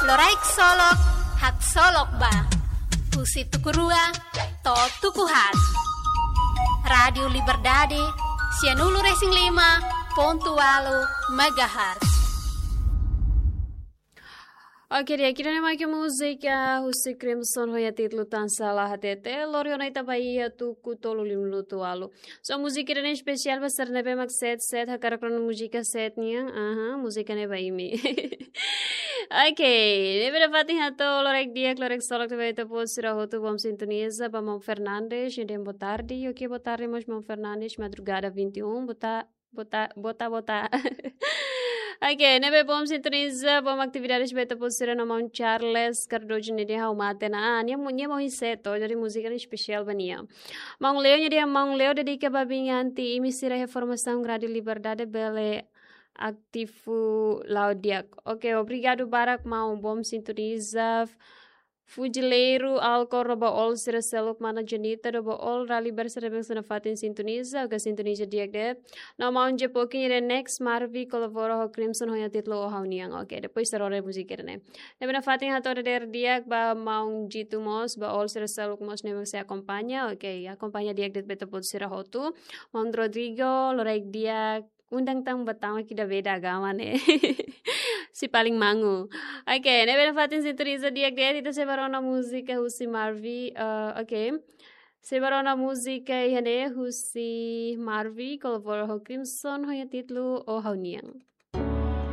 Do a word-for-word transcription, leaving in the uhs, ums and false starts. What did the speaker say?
Loraik Solok, Haksolok Ba. Husi tuku rua to'o tuku haat. Rádiu Liberdade, sianulu-resin-lima pontu ualu megahertz. Oke, di'ak, ida-ne'e mak múzika husi Crimson ho nia títulu Tansá La Hatete, lori ona ita ba iha tuku tolu lima minutu ualu. So, múzika ida-ne'e espesiál ba sira ne'ebé mak sete sete, hakarak rona múzika sete nian. Aha, múzika ne'e ba imi. Oke, ne'ebé nafatin hato'o loraik di'ak, loraik solok ba ita-boot sira hotu, bom sintoniza ba maun Fernandes, nia dehan boa tarde. Oke, boa tarde mós maun Fernandes, madrugada vinte e um, boa ta-, boa ta-, boa ta-, boa ta-. Oke, ne'ebé bom sintoniza, bom atividades ba ita-boot sira. No maun Charles Cardoso, nia dehan ha'u mate ona. Ah, nia mo-, nia moris sete, jadi múzika ne'e espesiál ba nia. Maun Leo, nia dehan maun Leo dedika ba biin-ain imi sira iha formasaun Rádiu Liberdade, bele ativu la'o di'ak. Oke, obrigadu barak maun, bom sintoniza. Fuzileiru Alcor, Roba Ol sira seluk, mana Janita, Roba Ol, Rally Bar sira bem sira nafatin sintoniza, oke, sintoniza di'ak de'it. No maun Jepoki, nia dehan next Marvi kolabora ho Crimson ho nia títulu Ó Ha'u-Nian. Oke, depois ita rona múzika ne'e. Ne'ebé nafatin hato'o dadeer di'ak ba maun Jitu mós, ba Ol sira seluk mós ne'ebé sei akompaña. Oke, akompaña di'ak de'it ba ita-boot sira hotu. Maun Rodrigo, loraik di'ak, undang tan ba tama ida beda agama ne'e. Si paling mangu. Oke, ne'ebé nafatin sintoniza di'ak de'it, ita sei bá rona múzika husi Marvi, eh, oke. Sei bá rona múzika iha ne'e husi Marvi, kolabora ho Crimson, ho nia títulu Ó Ha'u-Nian.